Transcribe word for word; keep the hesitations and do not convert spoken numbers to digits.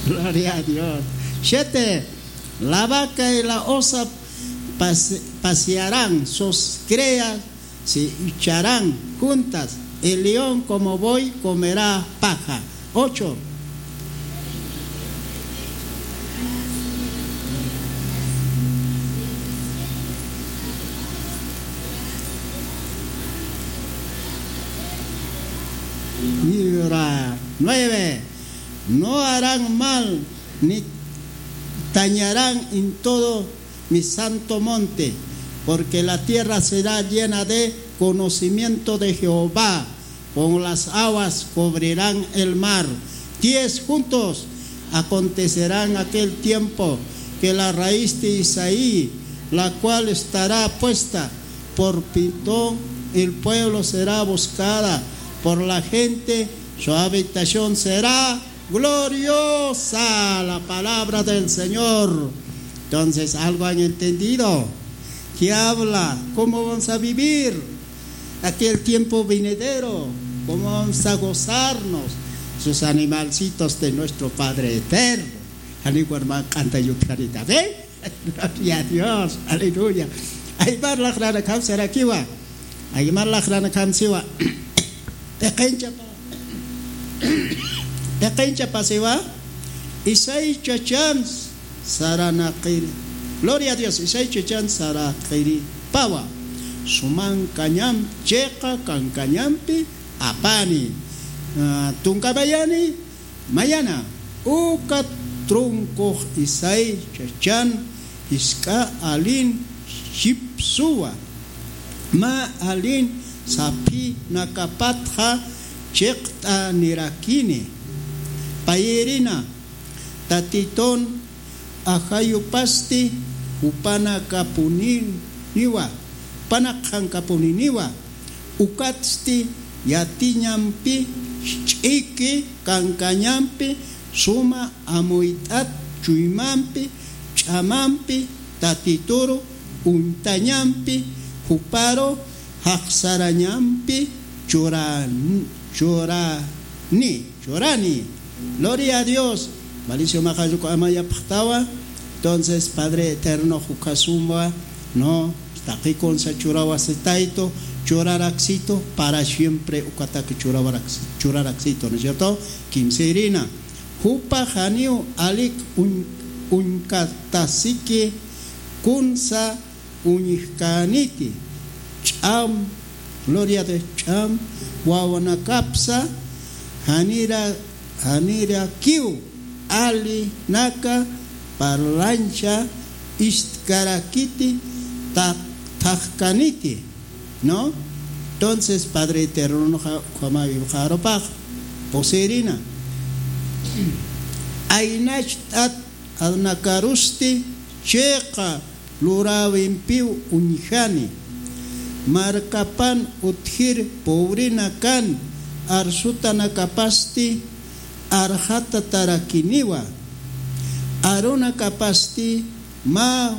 Gloria a Dios. Siete. La vaca y la osa pase- pasearán, sus crías se echarán juntas, el león como buey comerá paja. Ocho. Mira, nueve. No harán mal ni dañarán en todo mi santo monte, porque la tierra será llena de conocimiento de Jehová, como las aguas cubrirán el mar. Diez. Juntos acontecerán aquel tiempo que la raíz de Isaí, la cual estará puesta por pitón, el pueblo será buscada por la gente, su habitación será gloriosa. La palabra del Señor. Entonces, ¿algo han entendido? ¿Qué habla? ¿Cómo vamos a vivir aquel tiempo venidero? ¿Cómo vamos a gozarnos sus animalcitos de nuestro Padre Eterno? Ani warman canta yutkarita, ¿ve? Gloria a Dios, aleluya. Aymar laqrana kamsarakiwa. Aymar laqrana kamsiwa. Teqenchapa. Teqenchapa siwa. Isay chachan saranaqiri. Gloria a Dios, Isay chachan saraqiri. Pawa. Suman kañam cheqa kankañampi apani. Ah, tunkamayani. Mayana, uka trunkux Isay chachan jisk'a alin chipsuwa, mä alin saphinakapatxa chiqt'anirakini. Payïrina, Tatitun ajayupasti jupanakapuniniwa, jupanakxankapuniniwa. Ukatsti yatiñampi, ch'iki kankañampi, suma amuyt'at chuymampi, ch'amampi, Tatituru uñtañampi, juparu jaqsarañampi churan- churani. Churani. Gloria a Dios. Valicio majaruku ama yapxtawa. Entonces, Padre Eterno, jukasumwa, no, taqikunsa churawa sitaytu, churaraksitu, para siempre ukataki churawaraks- churaraksitu, ¿no es cierto? Kimsirina. Jupa janiw alik uñ- uñkatasiki kunsa uñjkäniti, ch'am, gloria de ch'am, wawanakapsa, janira- janirakiw alinaka parlancha istkarakiti, ta- thajkaniti, ¿no? Entonces, Padre Eterno, ja- jama- jarupax, posirina. Aynacht'at adnakarusti, chiqa luräwimpiw uñjani. Markapan utjir pobrinakan arsutanakapasti arxatatarakiniwa. Arunakapasti mä